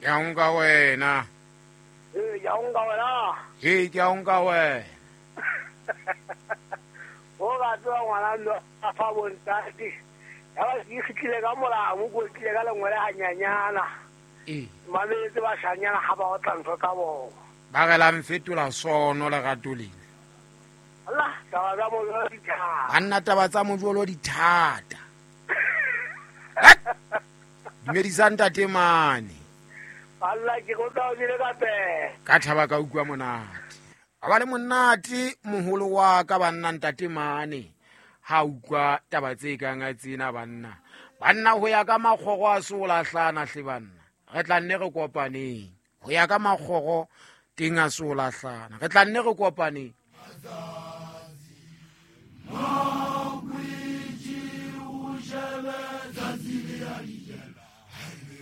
Ke a nka wena. Ee, ke a nka wena. Ee, ke a nka wena. O ka tseba ngwana ndo a fa bontate. Ya ba ke fitlile ka molamo ko tlile ka lengwele hanyanyana. Ee. Mametse bashanyana ha ba otla ntho tsa bona. Ba re la mfetola sono lerato lena. Allah, taba tsa mojolo di thata. Banna taba tsa mojolo di thata. Dumedisa ntate mane. Allah ke go tla o jele ka pele. Ka thaba ka utlwa monate. A ba le monate moholo wa ka banna ntate mane. Ha utlwa taba tse kang a tsena banna. Banna ho ya ka makgoro a se o lahlana hle banna. Re tla nne re kopaneng. Ho ya ka makgoro teng a se o lahlana. Re tla nne re kopaneng.